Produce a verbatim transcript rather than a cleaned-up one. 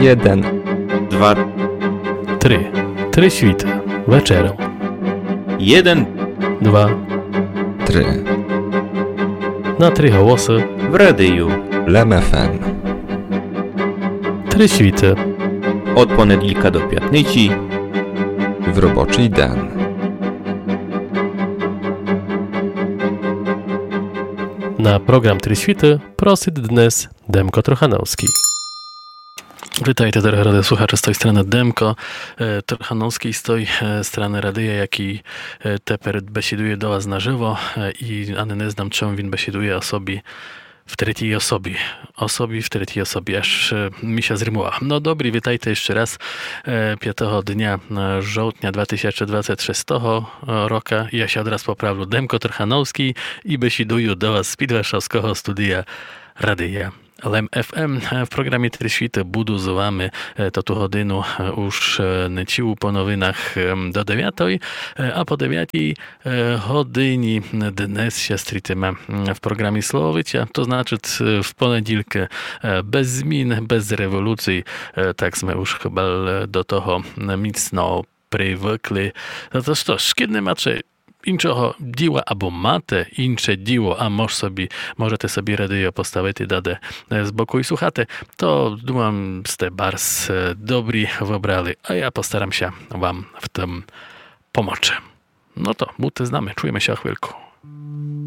Єден. Два. Три. Три світы. Вечером. Єден. Два. Три. На три голосы. В радию. Лем ФМ. Три світы. Од понеділка до пятниці. В робочый ден. На програм Три світы просит днес Демко Трохановскій. Вітайте, дорогы радіослухаче, з той страны Демко, е, Трохановскій, з той, е, страны радия, якій, е, тепер бесідує до вас наживо, е, і ани не знам, чом він бесідує о собі в третій особі. О собі в третій особі, аж, е, мі ся зримувало. Но добрі, вітайте іщы раз, е, пятого дня, е, жовтня два тисячы двадцет шестого, е, рока. Я ся одраз поправлю, Демко Трохановскій і бесідую до вас з-під варшавского студия радия Лем ФМ. Е, в програмі Три світы буду з вами, е, тоту годину, е, уж, е, не цілу по новинах, е, до девятой, е, а по девятій, е, годині днес ся стрітиме, м, в програмі Слововиця, то значыт, е, в понеділкы, е, без змін, без революцій, е, так сме уж хыба, е, до того, м, міцно привыкли. Но то што ж, кідь не мате іншого діла, або мате інше діло, а мож собі, можете собі радіо поставити даде, е, з боку і слухати, то, думам, сте барз, е, добрі выбрали, а я постарам ся вам в тым помочи. Но то, будте з нами, чуєме ся о хвильку.